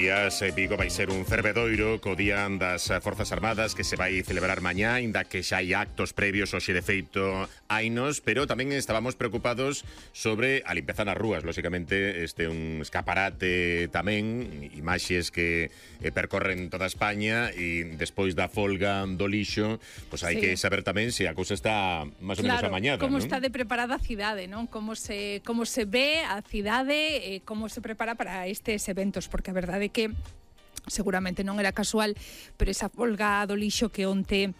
días, Vigo vai ser un fervedoiro co Día das Forzas Armadas que se vai celebrar mañá, inda que xa hai actos previos, hoxe de feito hainos, pero tamén estábamos preocupados sobre a limpeza nas rúas. Lóxicamente, este é un escaparate tamén, imaxes que percorren toda España, e despois da folga do lixo, pois hai que saber tamén se a cousa está máis ou menos amañada, como non? está de preparada a cidade, non? Como se ve a cidade, como se prepara para estes eventos, porque a verdade é que seguramente non era casual, pero esa folga do lixo que onte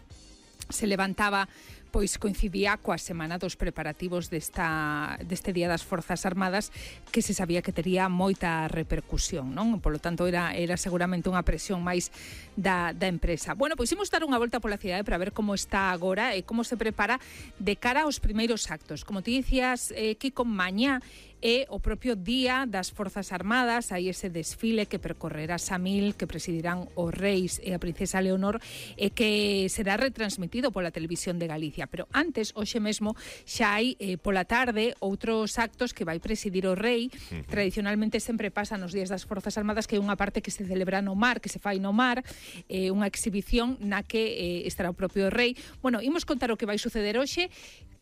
se levantaba pois coincidía coa semana dos preparativos deste Día das Forzas Armadas, que se sabía que tería moita repercusión, non? Por lo tanto, era seguramente unha presión máis da empresa. Bueno, pois imos dar unha volta pola cidade para ver como está agora e como se prepara de cara aos primeiros actos. Como ti dicías, Kiko, mañá é o propio Día das Forzas Armadas, hai ese desfile que percorrerá Samil, que presidirán os reis e a princesa Leonor, e que será retransmitido pola Televisión de Galicia. Pero antes, hoxe mesmo, xa hai pola tarde outros actos que vai presidir o rei. Tradicionalmente sempre pasa nos Días das Forzas Armadas, que é unha parte que se celebra no mar, que se fai no mar, unha exhibición na que estará o propio rei. Bueno, imos contar o que vai suceder hoxe,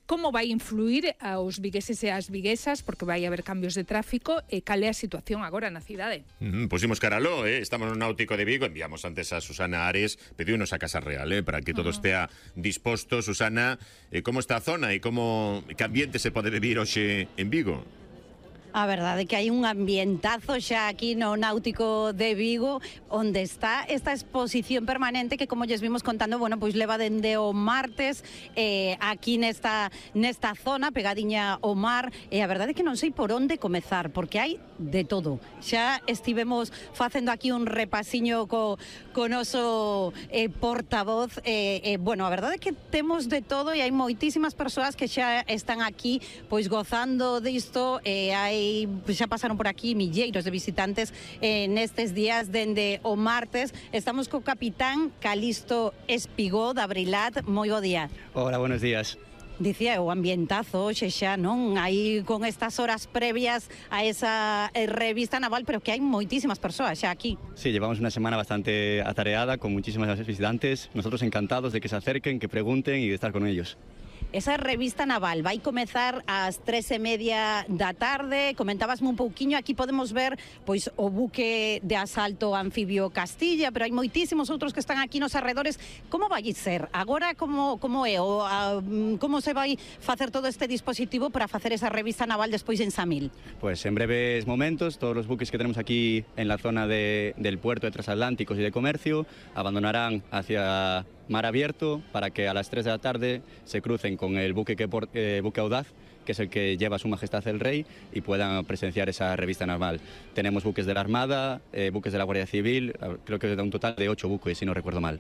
como vai influir aos vigueses e ás viguesas, porque vai haber cambios de tráfico, e cal é a situación agora na cidade. Pois imos caraló, estamos no Náutico de Vigo, enviamos antes a Susana Ares, pediunos a Casa Real, para que todo estea disposto. Susana, como está a zona e que ambiente se pode vivir hoxe en Vigo? A verdade é que hai un ambientazo xa aquí no Náutico de Vigo, onde está esta exposición permanente que, como lles vimos contando, bueno, pois leva dende o martes aquí nesta zona, pegadiña ao mar, e a verdade é que non sei por onde comezar, porque hai de todo. Xa estivemos facendo aquí un repasiño co noso portavoz, bueno, a verdade é que temos de todo e hai moitísimas persoas que xa están aquí pois gozando disto, xa pasaron por aquí milleiros de visitantes nestes días dende o martes. Estamos co capitán Calisto Espigó da Abrilat. Moi bo día. Hola, buenos días. Dicía, o ambientazo hoxe xa, non? Aí con estas horas previas a esa revista naval, pero que hai moitísimas persoas xa aquí. Sí, llevamos una semana bastante atareada, con muchísimas visitantes. Nosotros encantados de que se acerquen, que pregunten y de estar con ellos. Esa revista naval vai comezar ás 3:30 da tarde. Comentábasme un pouquiño, aquí podemos ver pois o buque de asalto anfibio Castilla, pero hai moitísimos outros que están aquí nos arredores. Como vai ser? Agora como é? Como se vai facer todo este dispositivo para facer esa revista naval despois en Samil? Pues en breves momentos, todos los buques que tenemos aquí en la zona del puerto de transatlánticos y de comercio abandonarán hacia mar abierto para que a las 3 de la tarde se crucen con el buque Audaz, que es el que lleva a Su Majestad el Rey, y puedan presenciar esa revista naval. Tenemos buques de la Armada, buques de la Guardia Civil, creo que da un total de 8 buques, si no recuerdo mal.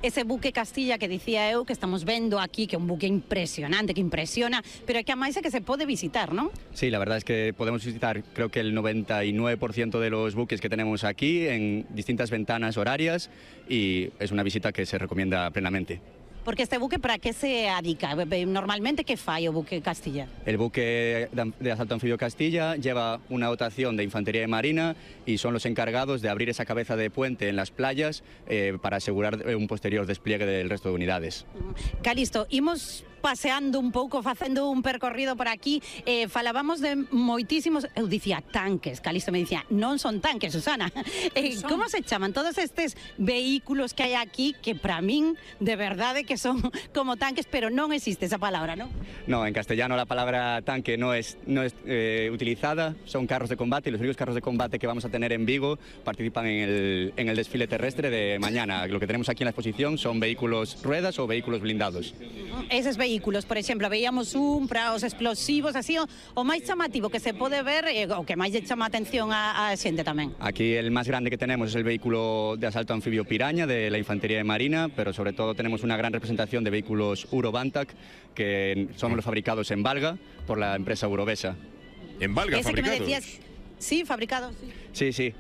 Ese buque Castilla que dicía eu, que estamos vendo aquí, que é un buque impresionante, que impresiona, pero que a máis é que se pode visitar, ¿no? Sí, la verdad es que podemos visitar, creo que el 99% de los buques que tenemos aquí en distintas ventanas horarias, y es una visita que se recomienda plenamente. Porque este buque, para que se adica? Normalmente, que fai o buque Castilla? El buque de asalto anfibio Castilla lleva una dotación de infantería de marina y son los encargados de abrir esa cabeza de puente en las playas para asegurar un posterior despliegue del resto de unidades. Calisto, imos paseando un pouco, facendo un percorrido por aquí, falábamos de moitísimos, eu dicía tanques, Calisto me dicía, non son tanques, Susana. Como se chaman todos estes vehículos que hai aquí, que para min, de verdade, que son como tanques, pero non existe esa palabra, ¿no? No, en castellano la palabra tanque no es utilizada, son carros de combate, y los únicos carros de combate que vamos a tener en Vigo participan en el desfile terrestre de mañana. Lo que tenemos aquí en la exposición son vehículos ruedas o vehículos blindados. Eses vehículos, por exemplo, veíamos un para os explosivos, así, o máis chamativo que se pode ver, o que máis lle chama a atención a xente tamén. Aquí el más grande que tenemos es el vehículo de asalto anfibio Piraña de la Infantería de Marina, pero sobre todo tenemos una gran representación de vehículos Urobantac, que son los fabricados en Valga por la empresa Urovesa. ¿En Valga Ese fabricados? Que me decías, sí, fabricado. Sí.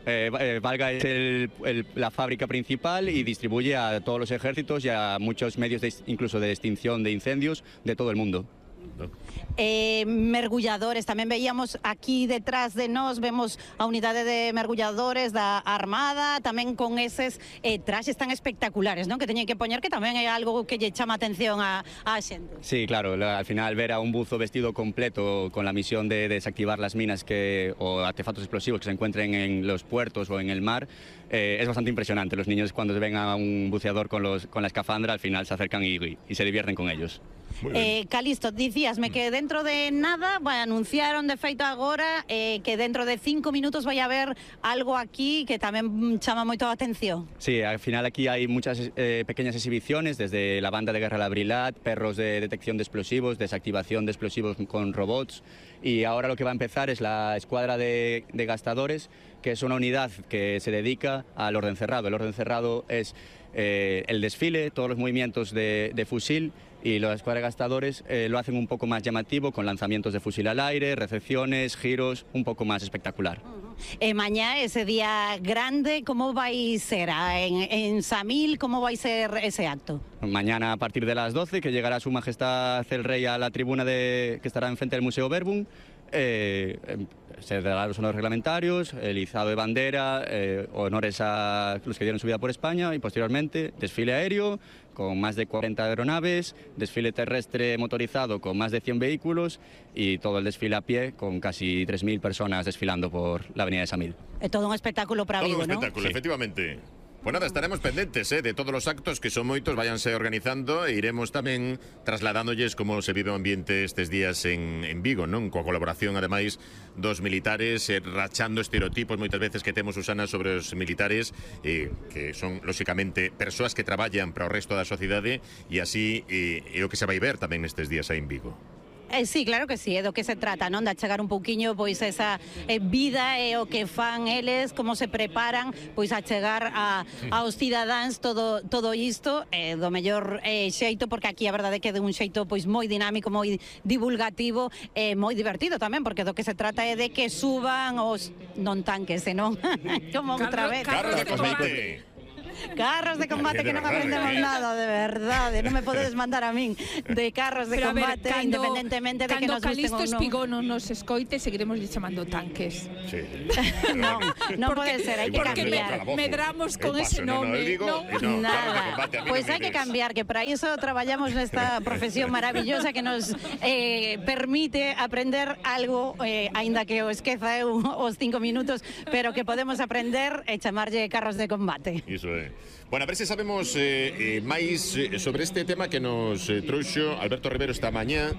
Valga es la fábrica principal y distribuye a todos los ejércitos y a muchos medios incluso de extinción de incendios de todo el mundo. ¿no? Mergulladores, tamén veíamos aquí detrás de nós, vemos a unidade de mergulladores da Armada, tamén con eses traxes tan espectaculares, non? Que teñen que poñer, que tamén é algo que lle chama atención a xente. Sí, claro, al final ver a un buzo vestido completo con la misión de desactivar las minas o artefactos explosivos que se encuentren en los puertos o en el mar es bastante impresionante. Los niños cuando ven a un buceador con la escafandra al final se acercan y se divierten con ellos. Calisto, dicíasme que dentro de nada anunciaron de feito agora que dentro de 5 minutos vai haber algo aquí que tamén chama moito a atención. Sí, al final aquí hay muchas pequeñas exhibiciones, desde la banda de guerra Labrilat, perros de detección de explosivos, desactivación de explosivos con robots, y ahora lo que va a empezar es la escuadra de gastadores, que es una unidad que se dedica al orden cerrado. El orden cerrado es el desfile, todos los movimientos de fusil, y los escuadras gastadores lo hacen un poco más llamativo, con lanzamientos de fusil al aire, recepciones, giros, un poco más espectacular. Mañá, ese día grande, ¿cómo va a ser? En Samil, ¿cómo va a ser ese acto? Mañana a partir de las 12, que llegará Su Majestad el Rey a la tribuna que estará enfrente del Museo Verbum. Se darán los honores reglamentarios, el izado de bandera, honores a los que dieron su vida por España, y posteriormente desfile aéreo con más de 40 aeronaves, desfile terrestre motorizado con más de 100 vehículos y todo el desfile a pie con casi 3.000 personas desfilando por la avenida de Samil. Es todo un espectáculo para Vigo, ¿no? Todo un espectáculo, Sí. efectivamente. Pues nada, estaremos pendentes de todos los actos, que son moitos, váyanse organizando, e iremos tamén trasladánolles como se vive o ambiente estes días en Vigo, non? Coa colaboración, ademais, dos militares, rachando estereotipos moitas veces que temos, Susana, sobre os militares, que son, lóxicamente, persoas que traballan para o resto da sociedade, e así é o que se vai ver tamén nestes días aí en Vigo. Sí, claro que sí, é do que se trata, non? De achegar un pouquiño pois esa vida e o que fan eles, como se preparan pois a chegar aos cidadáns todo isto do mellor xeito, porque aquí a verdade é que de un xeito pois moi dinámico, moi divulgativo e moi divertido tamén, porque do que se trata é de que suban os non tanques, senón como outra vez. Carros de combate. Carros de combate, que non aprendemos nada, de verdade. Non me podedes mandar a min de carros de combate, independentemente de que nos gusten ou non. Cando Calisto Espigón non nos escoite, seguiremos chamando tanques. Sí. Non pode ser, hai que cambiar. Medramos con ese nome. Nada. Pois hai que cambiar, que para iso traballamos nesta profesión maravillosa que nos permite aprender algo, aínda que o esqueza eu os 5 minutos, pero que podemos aprender e chamarlle carros de combate. Iso é. Bueno, a ver se sabemos máis sobre este tema que nos trouxo Alberto Rivero esta mañá,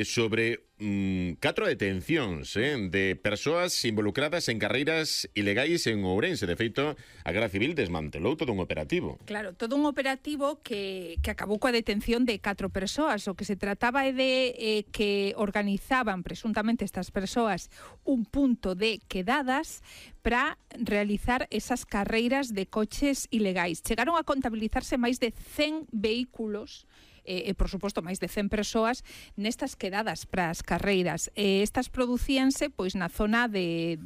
sobre 4 detencións de persoas involucradas en carreiras ilegais en Ourense. De feito, a Garda Civil desmantelou todo un operativo. Claro, todo un operativo que acabou coa detención de 4 persoas. O que se trataba é de que organizaban presuntamente estas persoas un punto de quedadas para realizar esas carreiras de coches ilegais. Chegaron a contabilizarse máis de 100 vehículos e, por suposto, máis de 100 persoas nestas quedadas para as carreiras. Estas producíanse pois na zona de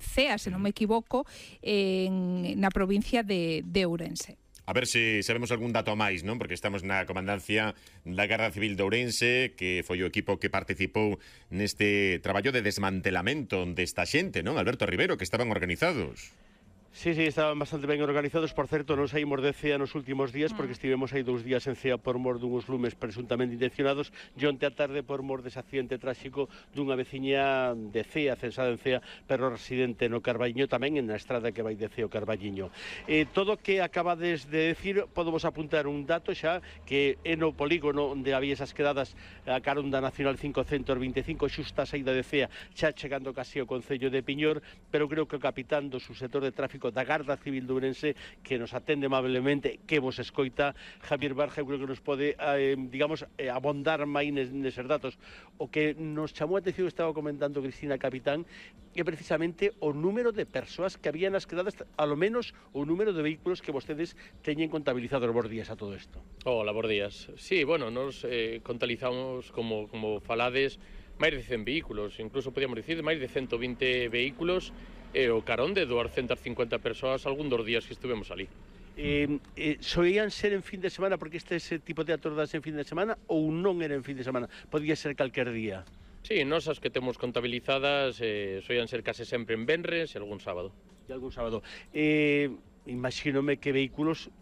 Cea, se non me equivoco, na provincia de Ourense. A ver se sabemos algún dato máis, non? Porque estamos na comandancia da Garda Civil de Ourense, que foi o equipo que participou neste traballo de desmantelamento desta xente, non? Alberto Rivero, que estaban organizados. Sí, estaban bastante ben organizados. Por certo, non saímos de Cea nos últimos días porque estivemos aí 2 días en Cea por mor dunhos lumes presuntamente intencionados, e onte a tarde por mor dese accidente tráxico dunha veciña de Cea, censada en Cea, pero residente no Carballiño, tamén na estrada que vai de Cea ao Carballiño. Todo o que acabades de decir, podemos apuntar un dato xa, que é no polígono onde había esas quedadas a carón da Nacional 525, xusta a saída de Cea, xa chegando casi ao Concello de Piñor, pero creo que o capitán do subsector de tráfico da Garda Civil de Ourense, que nos atende amablemente, que vos escoita, Javier Barja, eu creo que nos pode, abondar máis neses datos. O que nos chamou a atención, estaba comentando Cristina Capitán, é precisamente o número de persoas que había nas quedadas, a lo menos o número de vehículos que vostedes teñen contabilizados. Bos días a todo isto. Hola, bos días. Sí, bueno, nos contabilizamos, como falades, máis de 100 vehículos, incluso podíamos dicir máis de 120 vehículos, o carón de 250 persoas algún dos días que estuvemos ali. Soían ser en fin de semana porque ese tipo de actos das en fin de semana ou non era en fin de semana? Podía ser calquer día? Sí, nosas que temos contabilizadas soían ser case sempre en venres e algún sábado. E algún sábado. Imagínome que vehículos,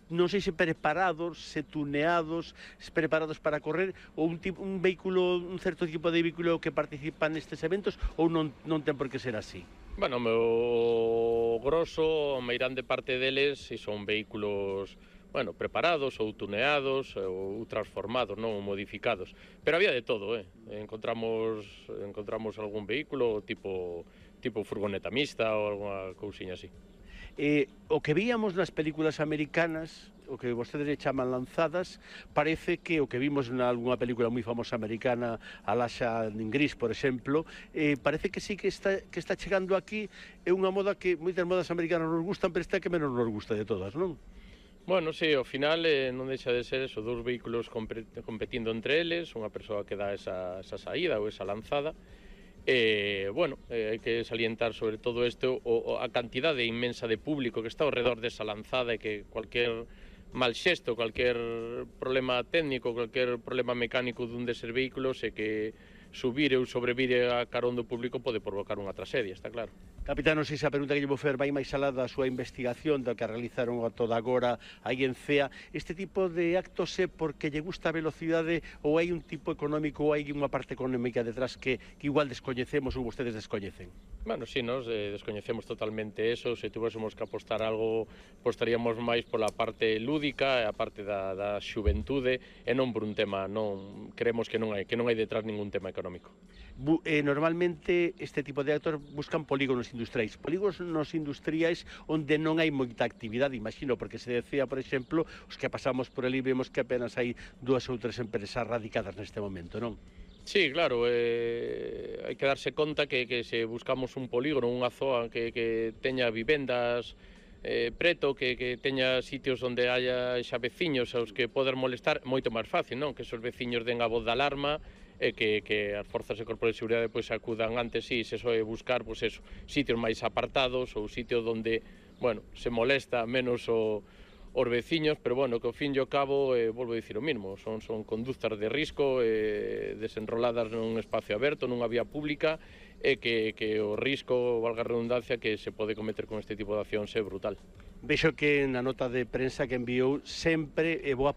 non sei se preparados, se tuneados, se preparados para correr, ou un vehículo, un certo tipo de vehículo que participa nestes eventos, ou non ten por que ser así? Bueno, o grosso, a meirande parte deles, si son vehículos, bueno, preparados ou tuneados ou transformados, non, ou modificados. Pero había de todo, encontramos algún vehículo tipo furgoneta mixta ou alguna cousiña así. O que víamos nas películas americanas, o que vostedes le chaman lanzadas, parece que o que vimos nalgúna película moi famosa americana, Alaxa en Gris, por exemplo, parece que sí que está chegando aquí. É unha moda que moitas modas americanas nos gustan, pero esta que menos nos gusta de todas, non? Bueno, sí, ao final non deixa de ser eso, dous vehículos competindo entre eles, unha persoa que dá esa saída ou esa lanzada. Hai que salientar sobre todo isto a cantidade inmensa de público que está ao redor desa lanzada e que cualquier mal xesto, cualquier problema técnico, cualquier problema mecánico dun deses vehículos e que subir ou sobrevire a carón do público pode provocar unha tragedia, está claro. Capitán, non sei se a pregunta que lle vou fer vai máis alá da súa investigación, da que realizaron a toda agora aí en CEA. Este tipo de actos é porque lle gusta a velocidade ou hai un tipo económico ou hai unha parte económica detrás que igual descoñecemos ou vostedes descoñecen? Bueno, sí, nos descoñecemos totalmente eso. Se tuvésemos que apostar algo, apostaríamos máis pola parte lúdica e a parte da xuventude e non por un tema, non creemos que non hai detrás ningún tema económico. Normalmente este tipo de actos buscan polígonos industriais. Polígonos industriais onde non hai moita actividade, imagino, porque se decía, por exemplo, os que pasamos por ali vemos que apenas hai 2 ou 3 empresas radicadas neste momento, non? Sí, claro, hai que darse conta que se buscamos un polígono, unha zoa que teña vivendas preto, que teña sitios onde haya xa veciños aos que poder molestar, moito máis fácil, non? Que esos veciños den a voz de alarma e que as forzas de corpo de seguridade pois acudan antes, sí, se soe buscar pois eso, sitios máis apartados ou sitios onde, bueno, se molesta menos os veciños, pero bueno, que ao fin e ao cabo, volvo a dicir o mismo, son conductas de risco, desenroladas nun espacio aberto, nunha vía pública, e que o risco, valga a redundancia, que se pode cometer con este tipo de accións é brutal. Vexo que na nota de prensa que enviou sempre boa